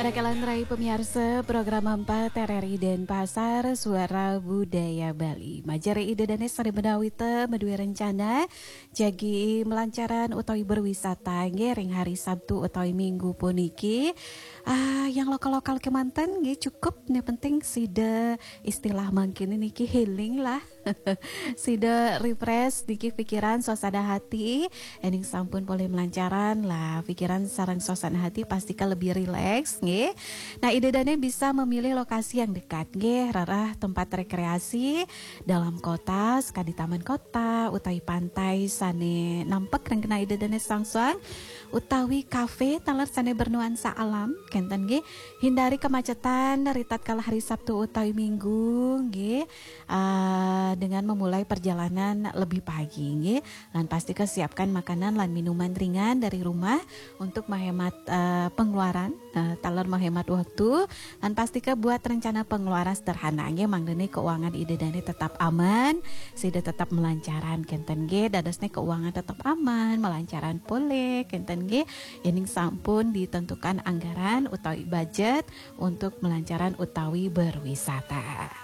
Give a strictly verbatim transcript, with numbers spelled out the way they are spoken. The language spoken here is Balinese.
Rakalan rai pamiarsa program empat R R I Denpasar, Suara Budaya Bali. Majare Ida Dané sareng ménawi té madué rencana jagi melancaran utawi berwisata nggih ring hari Sabtu utawi Minggu puniki. Ah, yang lokal-lokal kémanten nggih cukup, yang penting sida istilah mangkin niki healing lah. Sida refresh niki pikiran, suasana hati, ening sampun polih melancaran lah, pikiran sareng suasana hati pasti ka lebih rileks nggih. Nah, Ida Dané bisa memilih lokasi yang dekat nggih, rereh tempat rekreasi dalam kota, sekadi taman kota utawi pantai sané nampek ring genah Ida Dané soang-soang, utawi kafe taler sané bernuansa alam, kénten nggih. Hindari kemacetan ritatkala hari Sabtu utawi Minggu nggih, ah, dengan memulai perjalanan lebih pagi nggih. Lan pastika siapkan makanan lan minuman ringan dari rumah untuk menghemat, eh, pengeluaran, eh, taler menghemat waktu. Lan pastika buat rencana pengeluaran sederhana nggih, mangdané keuangan Ida Dané tetap aman, sida tetap melancaran kénten nggih, dadosné keuangan tetap aman, melancaran polih kénten nggih. Yening sampun ditentukan anggaran utawi budget untuk melancaran utawi berwisata.